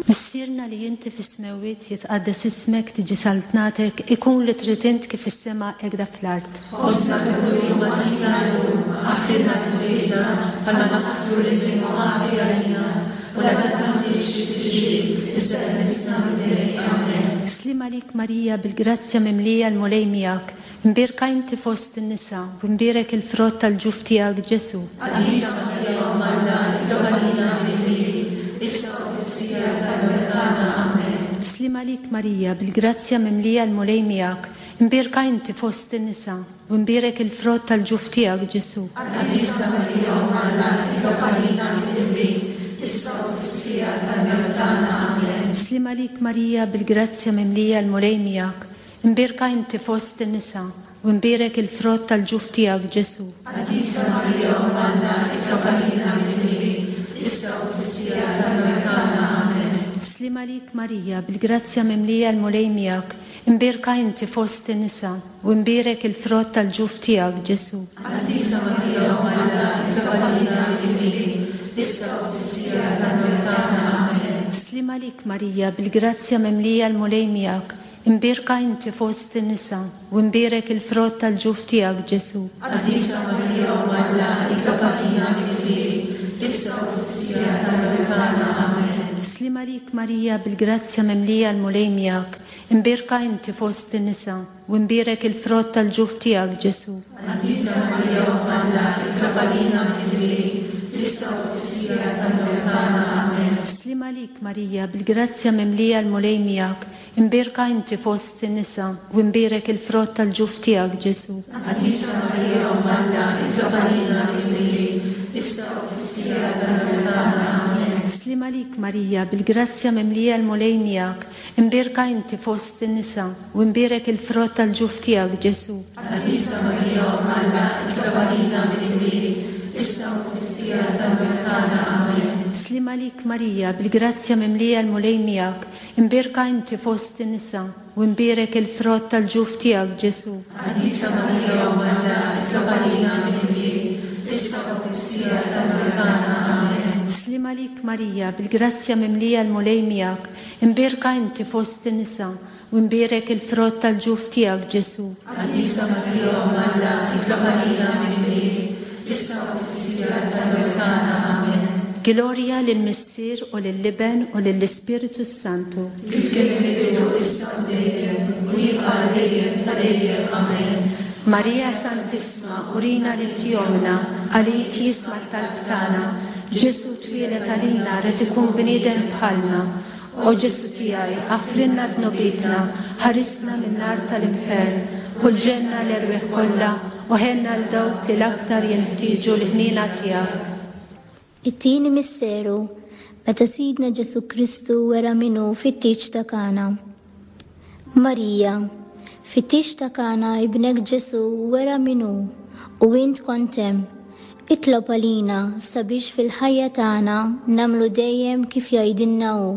Missierna li inti fis-smewwiet, jitqaddes ismek, tiġi saltnatek, ikun li trid int kif fis-sema hekk fl-art. Ħobżna ta' kuljum agħtina llum, aħfrilna dnubietna bħalma naħfru lil min hu ħati għalina, u la tdaħħalniex fit-tiġrib, iżda eħlisna mill-deni. Amen. Sliem għalik Marija bil-grazzja mimlija l-Mulej miegħek, imbierka inti fost in-nisa, u mbierek il-frott tal-ġuf tiegħek Ġesù. Qaddisa Marija Omm Alla, itlob għalina midinbin, issa u fis-siegħa tal-mewt tagħna. Amen. Sliem għalik Marija bil-grazzja mimlija l-Mulej miegħek, imbierka inti fost in-nisa, u mbierek il-frott tal-ġuf tiegħek Ġesù. Qaddisa Marija Omm Alla, itlob għalina midinbin, issa u fis-siegħa tal-mewt tagħna. Amen. Sliem għalik Marija bil-grazzja mimlija l-Mulej miegħek, imbierka inti fost in-nisa, u mbierek il-frott tal-ġuf tiegħek Ġesù. Qaddisa Marija Omm Alla, itlob għalina midinbin, issa u fis-siegħa tal-mewt tagħna. Amen. Sliem għalik Marija bil-grazzja mimlija l-Mulej miegħek, imbierka inti fost in-nisa, u mbierek il-frott tal-ġuf tiegħek Ġesù. Qaddisa Marija Omm Alla, itlob għalina midinbin, issa u fis-siegħa tal-mewt tagħna. Amen. Sliem għalik Marija bil-grazzja mimlija l-Mulej miegħek, imbierka inti fost in-nisa, u mbierek il-frott tal-ġuf tiegħek Ġesù. Qaddisa Marija Omm Alla, itlob għalina midinbin, issa u fis-siegħa tal-mewt tagħna. Amen. Sliem għalik Marija bil-grazzja mimlija l-Mulej miegħek, imbierka inti fost in-nisa, u mbierek il-frott tal-ġuf tiegħek Ġesù. Qaddisa Marija Omm Alla, itlob għalina midinbin, issa u fis-siegħa tal-mewt tagħna. Amen. Sliem għalik Marija bil-grazzja mimlija l-Mulej miegħek, imbierka inti fost in-nisa, u mbierek il-frott tal-ġuf tiegħek Ġesù. Qaddisa Marija Omm Alla, itlob għalina midinbin, issa u fis-siegħa tal-mewt tagħna. Amen. Sliem għalik Marija bil-grazzja mimlija l-Mulej miegħek, imbierka inti fost in-nisa, u mbierek il-frott tal-ġuf tiegħek Ġesù. Qaddisa Marija Omm Alla, itlob għalina midinbin, issa u fis-siegħa tal-mewt tagħna. Amen. Sliem għalik Marija bil-grazzja mimlija l-Mulej miegħek, imbierka inti fost in-nisa, u mbierek il-frott tal-ġuf tiegħek Ġesù. Qaddisa Marija Omm Alla, itlob għalina midinbin, issa u fis-siegħa tal-mewt tagħna. Amen. Sliem għalik Marija bil-grazzja mimlija l-Mulej miegħek, imbierka inti fost in-nisa, u mbierek il-frott tal-ġuf tiegħek Ġesù. Qaddisa Marija Omm Alla, itlob għalina midinbin, issa u fis-siegħa tal-mewt tagħna. Amen. Glorja lill-Missier u lill-Iben u lill-Ispirtu Santu. Kif kien fil-bidu, issa u dejjem, u jibqa' għal dejjem ta' dejjem. Amen. Marija Santissima, urina li inti ommna, għalik jisma' t-talb tagħna. Ġesù twieled għalina rid ikun bniedem bħalna. O Ġesù tiegħi, aħfrilna dnubietna, ħarisna min-nar tal-infern, u l-ġenna l-erwieħ kollha, u ħenna 'l dawk li l-aktar jinħtieġu l-ħniena tiegħek. It-tieni misteru, meta Sidna Ġesù Kristu wera min hu fit-tieġ ta' Kana. Marija, fit-tieġ ta' Kana ibnek Ġesù wera min hu u int kont hemm. Itlob għalina sabiex fil-ħajja tagħna nagħmlu dejjem kif jgħidilna hu.